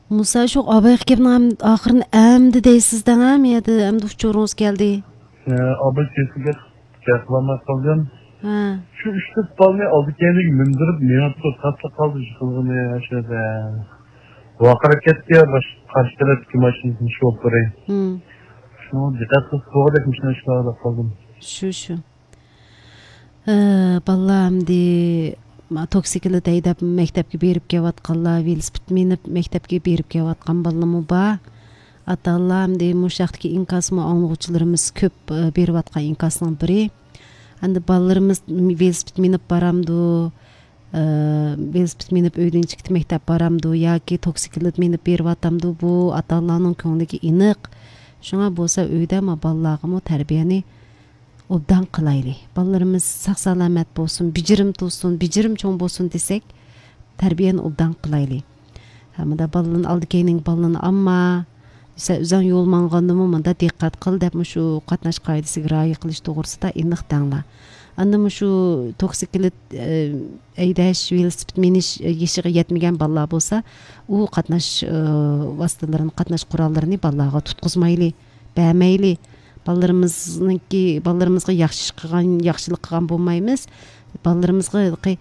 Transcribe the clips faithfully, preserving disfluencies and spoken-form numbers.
مۇسا، شۇ ئاباي ئاكامنىڭ ئەم-، ئاخىرىنى ئەمدى دەيسىز دەڭ، ھە؟ مەيەردە ئەمدى ئۇچۇرىڭىز كەلدى. ئە، ئاباي كېسىلگە گەپ قىلالماي قالدىم. ھە. شۇ ئۈچ تۆت بالىنى ئالدى كەينىگە مىندۈرۈپ مېڭىپتۇ، تاسلا قالدى يىقىلغىنى ئاشۇ يەردە. ۋارقىراپ كەتتى يا، باش-، قارشى تەرەپتىكى ماشىنىنىڭ شوپۇرى. ھىم. شۇنىڭغا دىققەت قىلسا بولغۇدەك مۇشۇنداق ئىشلارغا قالدىم. شۇ، شۇ. ئە، بالىلار ئەمدى ما-، توكسىكلىت ھەيدەپ مەكتەپكە بېرىپ كېلىۋاتقانلار، ۋېلىسىپىت مىنىپ مەكتەپكە بېرىپ كېلىۋاتقان بالىلارمۇ بار. ئاتا-ئانىلار ئەمدى مۇشۇ ھەقتىكى ئىنكاسمۇ ئاڭلىغۇچىلىرىمىز كۆپ، ئە، بېرىۋاتقان ئىنكاسنىڭ بىرى. ئەمدى بالىلىرىمىز ۋېلىسىپىت مىنىپ بارامدۇ، ئە، ۋېلىسىپىت مىنىپ ئۆيدىن چىقىپ مەكتەپ بارامدۇ ياكى توكسىكلىت مىنىپ بېرىۋاتامدۇ، بۇ ئاتا-ئانىلارنىڭ كۆڭلىگە ئېنىق. شۇڭا بولسا ئۆيدە ما بالىلارغىمۇ تەربىيەنى ئوبدان قىلايلى. بالىلىرىمىز ساق-سالامەت بولسۇن، بېجىرىم تۇرسۇن، بېجىرىم چوڭ بولسۇن دېسەك، تەربىيەنى ئوبدان قىلايلى. ھە، مۇنداق بالىلارنى ئالدى كەينىڭ بالىلىرىنى ئالما. سەن ئۆزۈڭ يول ماڭغاندىمۇ مۇنداق دىققەت قىل دەپ، مۇشۇ قاتناش قائىدىسىگە رىئايە قىلىش توغرىسىدا ئېنىق دەڭلار. ئاندىن مۇشۇ توكسىكلىت، ئە، ھەيدەش، ۋېلىسىپىت مىنىش، ئە، يېشىغا يەتمىگەن بالىلار بولسا، ئۇ قاتناش، ئە، ۋاسىتىلىرىنى، قاتناش قوراللىرىنى بالىلارغا تۇتقۇزمايلى. بەرمەيلى. بالىلىرىمىزنىڭكى، بالىلىرىمىزغا ياخشى ئىش قىلغان، ياخشىلىق قىلغان بولمايمىز. بالىلىرىمىزغا ھېلىقى،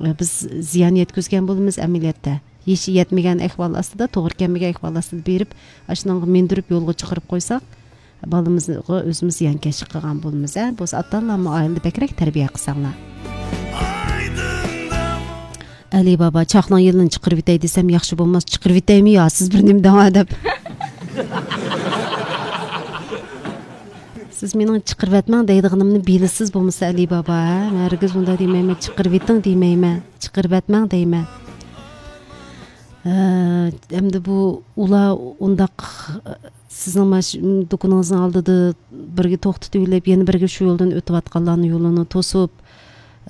ئە، بىز زىيان يەتكۈزگەن بولىمىز ئەمەلىيەتتە. يېشى يەتمىگەن ئەھۋال ئاستىدا، توغرا كەلمىگەن ئەھۋال ئاستىدا بېرىپ، ئاشۇنىڭغا مىندۈرۈپ يولغا چىقىرىپ قويساق، بالىمىزغا ئۆزىمىز زىيانكەشلىك قىلغان بولىمىز، ھە؟ بولسا ئاتا-ئانىلارمۇ ئائىلىدە بەكرەك تەربىيە قىلساڭلار. ئەلى بابا، چاقنىڭ يېلىنى چىقىرىۋېتەي دېسەم ياخشى بولماس، چىقىرىۋېتەيمۇ يا سىز بىر نېمە دەڭا دەپ. سىز مېنىڭ چىقىرىۋەتمەڭ دەيدىغىنىمنى بىلىسىز بولمىسا، ئەلى بابا، ھە؟ مەن ھەرگىز ئۇنداق دېمەيمەن، چىقىرىۋېتىڭ دېمەيمەن، چىقىرىۋەتمەڭ دەيمەن. ھە، ئەمدى بۇ ئۇلار ئۇنداق، سىزنىڭ ماش-، دۇكىنىڭىزنىڭ ئالدىدا بىرگە توختىتىۋېلىپ، يەنە بىرگە شۇ يولدىن ئۆتۈۋاتقانلارنىڭ يولىنى توسۇپ،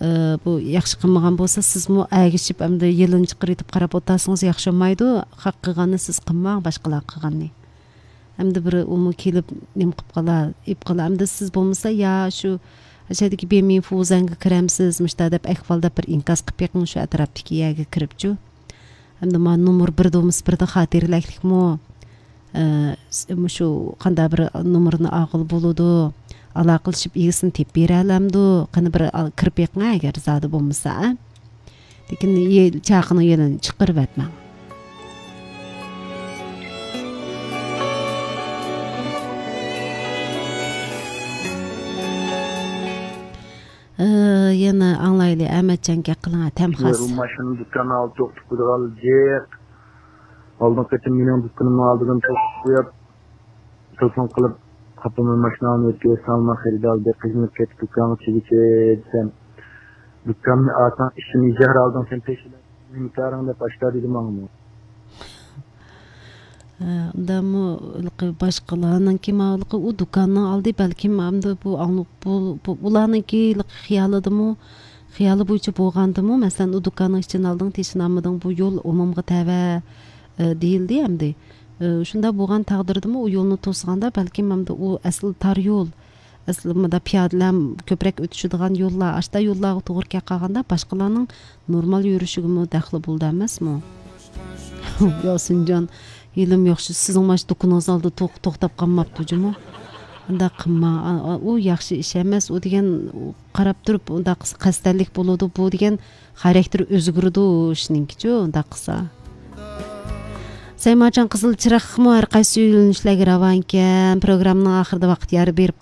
ئە، بۇ ياخشى قىلمىغان بولسا، سىزمۇ ئەگىشىپ، ئەمدى يېلىنى چىقىرىۋېتىپ قاراپ ئولتۇرسىڭىز ياخشى بولمايدۇ. خەق قىلغاننى سىز قىلماڭ، باشقىلار قىلغاننى. ئەمدى بىر ئۇمۇ كېلىپ نېمە قىلىپ قالار، ئېلىپ قالار. ئەمدى سىز بولمىسا يا شۇ، شۇ يەردىكى بىمىنفو زەڭگە كىرەمسىز، مۇشتا دەپ ئەھۋال دەپ بىر ئىنكاس قىلىپ بېقىڭ شۇ ئەتراپتىكى يەرگە كىرىپچۇ. ئەمدى مانا نومۇر بىردە بولمىسا بىردە خاتىرىلەكلىكمۇ؟ ئە، س-، مۇشۇ قانداق بىر نومۇرنى ئالغىلى بولىدۇ؟ ئالاقىلىشىپ ئىگىسىنى تېپىپ بېرەلەمدۇ؟ قېنى بىر ئال-، كىرىپ بېقىڭ ئەگەر زادى بولمىسا، ئە؟ لېكىن يە-، چاقىنىڭ يېلىنى چىقىرىۋەتمەڭ. ئى، يەنە ئاڭلايلى، ئەمەتجان گەپ قىلىڭ، تەم خاس. ماشىنا دۇكان ئالدى توختىتىپ قويىدىغان جىق. ئالدىنقى قېتىم مېنىڭ دۇكىنىمنىڭ ئالدىدىن توختىتىپ قويۇپ، تېلېفون قىلىپ، قاپىمۇ ماشىناڭنى ئۆتكۈزسەڭ، مەن خېرىدار بەك قىينىلىپ كەتتى، دۇكانغا چىگىچە دېسەم، دۇكاننى ئالساڭ ئىچىنى زەھەر ئالدىڭ سەن تېشىلىپ، نېمە كارىڭ دەپ ئاشتا دېدى ماڭىمۇ. ئە، ئۇندامۇ ھېلىقى باشقىلارنىڭكى، ماۋۇ ھېلىقى ئۇ دۇكاننىڭ ئالدى، بەلكىم ئەمدى بۇ ئاڭلىق، بۇ، بۇ، ئۇلارنىڭكى ھېلىقى خىيالىدىمۇ، خىيالى بويىچە بولغاندىمۇ، مەسىلەن، ئۇ دۇكاننىڭ ئىچىنى ئالدىڭ، تېشىنى ئالمىدىڭ، بۇ يول ئومۇمغا تەۋە، ئە، دېيىلدى ئەمدى. ئە، شۇنداق بولغان تەقدىردىمۇ، ئۇ يولنى توسقاندا، بەلكىم ئەمدى ئۇ ئەسلى تار يول، ئەسلى مۇنداق پىيادىلەر كۆپرەك ئۆتۈشىدىغان يوللار، ئاشتا يوللارغا توغرا كەپ قالغاندا، باشقىلارنىڭ نورمال يۈرۈشىگىمۇ دەخلى بولىدۇ ئەمەسمۇ؟ ياسىنجان، ھېلىمۇ ياخشى، سىزنىڭ مانا شۇ دۇكىنىڭىزنىڭ ئالدىدا توق-، توختاپ قالماپتۇ جۇمۇ. ئۇنداق قىلماڭ. ئا، ئا، ئۇ ياخشى ئىش ئەمەس. ئۇ دېگەن، ئۇ قاراپ تۇرۇپ ئۇنداق قىلسا قەستەنلىك بولىدۇ. بۇ دېگەن خاراكتېرى ئۆزگىرىدۇ ئىشنىڭكىچۇ، ئۇنداق قىلسا. سەيماجان قىزىل چىراغمۇ ھەر قايسى يۆنىلىشلەرگە راۋانكەن. پروگراممىنىڭ ئاخىرىدا ۋاقىت يار بېرىپ